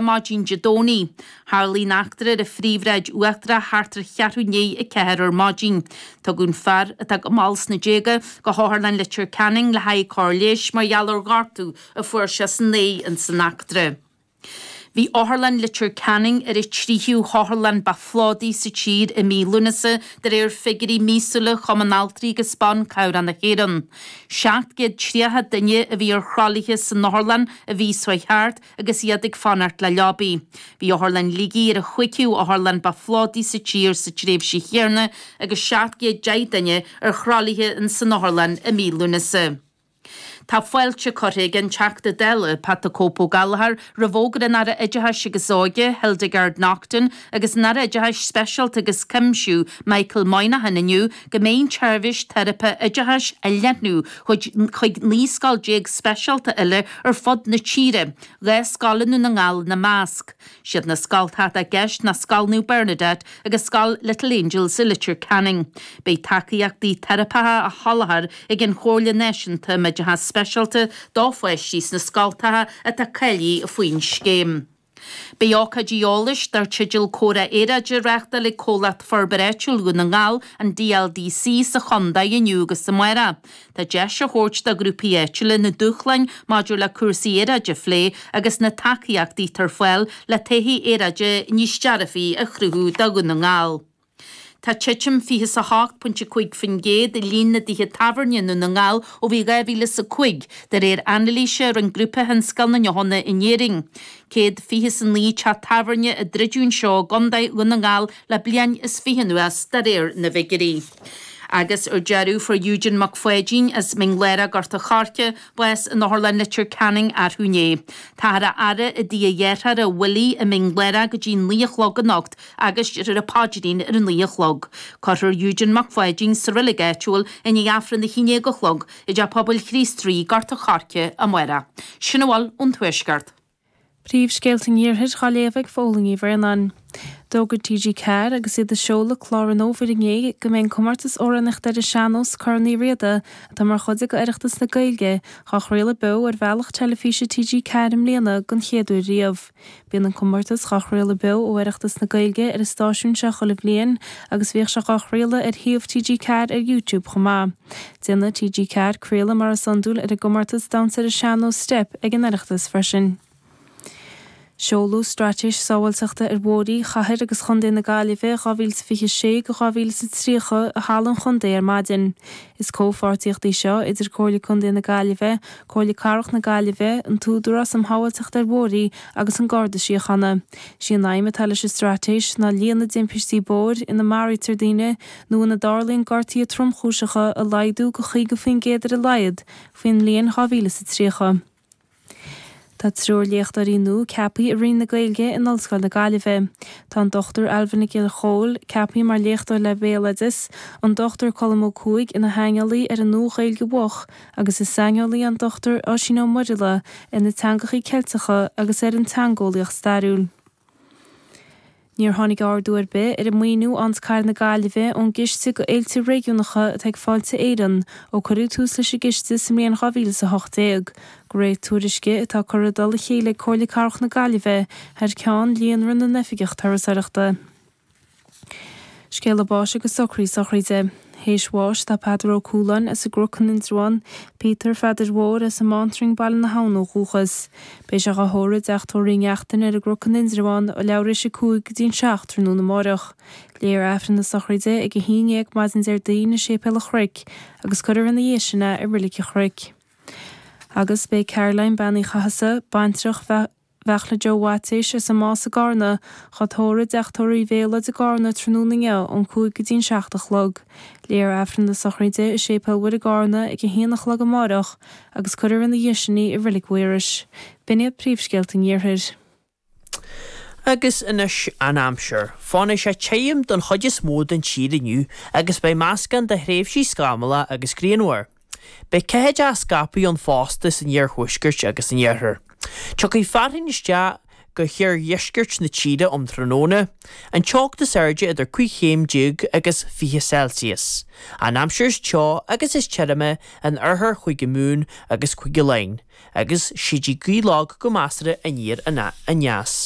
Maidin Dé Domhnaigh. Tharlaigh an eachtra ar an Phríomhshráid Uachtarach thart ar cheathrú i ndiaidh 4 ar maidin. Tugadh an fear, atá go mall sna déaga, go hOtharlann Leitir Ceanainn le haghaidh cóir leighis mar gheall ar ghortú a fuair sé san aghaidh ins an eachtra. Bhí Otharlann Leitir Ceanainn ar an tríú hotharlann ba phlódaí sa tír i mí Lúnasa de réir figiúirí míosúla Chumann Altraí agus Ban Cabhrach na hÉireann. 730 duine a bhí ar throlaithe san otharlann an mhí seo thart agus iad ag fanacht le leabaí. Bhí Otharlann Shligigh ar an chúigiú otharlann ba phlódaí sa tír sa tréimhse chéanna agus 710 duine ar throlaithe in san otharlann i mí Lúnasa. Tá fáilte curtha ag an Teachta Dála, Pat the Cope Ó Gallchóir, roimh fhógra an Aire Oideachais agus Óige, Hildegarde Naughton, agus an Aire Oideachais Speisialta agus Cuimsiú, Michael Moynihan inniu go mbeidh an tseirbhís teiripe oideachais á leathnú chuig 19 scoil speisialta eile ar fud na tíre, 2 scoil i nDún na nGall ina measc. Siad na scoltacha atá i gceist ná Scoil Naomh Bernadette agus Scoil Little Angels i Leitir Ceanainn. Beidh tacaíochtaí teiripeacha á sholáthar ag an Chomhairle Náisiúnta um Oideachas Speisialta do pháistí sna scoltacha atá cáilithe faoin scéim. Beidh ócáid eolais dar teideal Comhrá Aeráide á reáchtáil ag Comhlacht Forbartha Áitiúil Dhún na nGall, an DLDC, sa chontae inniu agus amárach. Tá deis á thabhairt do ghrúpaí áitiúla na dúshláin maidir le cúrsaí aeráide a phlé agus na tacaíochtaí atá ar fáil le todhchaí aeráide níos dearfaí a chruthú do Dhún na nGall. Tá titim 28.5% i líon na dtithe tábhairne i nDún na nGall ó bhí 2005, de réir anailíse a rinne Grúpa Thionscal na nDeochanna in Éirinn. 129 teach tábhairne a druideadh anseo i gContae Dhún na nGall le bliain is fiche anuas, de réir na bhfigiúirí. Agus ar deireadh, fuair Eugene Mac Pháidín as Mín Lárach, Gort a' Choirce, bás in Otharlann Leitir Ceanainn arú inné. Táthar á fhaire i dtigh a dhearthára Willie i Mín Lárach go dtí 9 a chlog anocht agus déarfar an paidrín ar a 9 a chlog. Cuirfear Eugene Mac Pháidín sa reilig áitiúil i ndiaidh Aifreann a 11 a chlog i dTeach Pobail Chríost Rí, Gort a' Choirce, amárach. Sin a bhfuil ón Tuaisceart. Príomhscéalta an Iarthair á léamh ag Fódhla Ní Bhraonáin. D'fhógair TG4 agus iad ag seoladh clár an fhómhair inné go mbeidh an comórtas amhránaíochta ar an sean-nós Corn Uí Riada, atá mar chuid de Oireachtas na Gaeilge, á chraoladh beo ar bhealach teilifíse TG4 i mbliana den chéad uair riamh. Bíonn an comórtas dhá chraoladh beo ó Oireachtas na Gaeilge ar an stáisiún seo chuile bhliain agus bhíodh sé dhá chraoladh ar shuíomh TG4 ar YouTube chomh maith. Déanfaidh TG4 craoladh mar is iondúil ar an gcomórtas damhsa ar an sean-nós Steip ag an Oireachtas freisin. Seoladh Straitéis Sábháilteachta ar Bhóithre Chathair agus Chontae na Gaillimhe 2026-2030 i Halla an Chontae ar maidin. Is comhpháirtíocht í seo idir Comhairle Contae na Gaillimhe, Comhairle Cathrach na Gaillimhe, an tÚdarás um Shábháilteacht ar Bhóithre agus an Garda Síochána. Sí an aidhm atá leis an straitéis ná líon na dtimpistí bóthair ina maraítear daoine nó ina dtarlaíonn gortuithe tromchúiseacha a laghdú go 50% ar a laghad faoin mbliain 2030. Tá triúr léachtóirí nua ceaptha i Roinn na Gaeilge in Ollscoil na Gaillimhe. Tá an Dr Ailbhe Nic Giolla Chomhaill ceaptha mar léachtóir le Béaloideas, an Dr Colm Ó Cuaig ina shaineolaí ar an Nua-Ghaeilge Mhoch agus is saineolaí an Dr Oisín Ó Muraíle ar na teangacha Ceilteacha agus ar an teangeolaíocht stairiúil. Níor tháinig ardú ar bith ar an maoiniú a fhaigheanns Cathair na Gaillimhe ón gCiste do Fhéilte Réigiúnacha atá ag Fáilte Éireann ó cuireadh tús leis an gciste sa mbliain 2018, de réir tuairisce atá curtha i dtoll a chéile ag Comhairle Cathrach na Gaillimhe thar ceann Líonra na nOifigeach Turasóireachta. Scéala báis agus socruithe sochraide. Théis bháis tá Peadar Ó Cualáin as an gCnoc in Indreabhán, Peter Pheadair Mhóir as an mBántrang Baile na hAbhann ó dhúchas. Beidh sé dhá thórramh i dteach tórraimh Uí Neachtain ar an gCnoc in Indreabhán ó leathuair théis a 5 go dtí an 7 tráthnóna amáireach. Léifear Aifreann na sochraide ag 11 maidin Déardaoin i Séipéal an Chnoic agus cuirfear ina dhiaidh sin é i Reilig an Chnoic. Agus beidh Caroline Bean Uí Chathasaigh, baintreach Bheartla Joe Mhaitéis as an Más i gCarna, dhá tórramh i dteach tórraimh Uí Mhéalóid i gCarna tráthnóna inniu ón 5 go dtí an 7 a chlog. Léifear Aifreann na sochraide i Séipéal Mhuire i gCarna ag 1 a chlog amáireach agus cuirfear ina dhiaidh sin í i Reilig Mhaorais. B'in iad príomhscéalta an Iarthair. Agus anois an aimsir. Fanfaidh sé tirim don chuid is mó den tír inniu agus beidh meascán de thréimhsí scamallach agus grianmhar. Beidh ceathaideacha scaipthe ann fosta san iarthuaisceart agus san iarthar. Tiocfaidh fearthainn isteach. go hoirdheisceart na tíre um tráthnóna, an teocht is airde idir 15 chéim agus 20 Celsius. An aimsir is teo agus is tirime in oirthear Chúige Mumhan agus Cúige Laighean, agus séidfidh gaoth lag go measartha aniar aneas.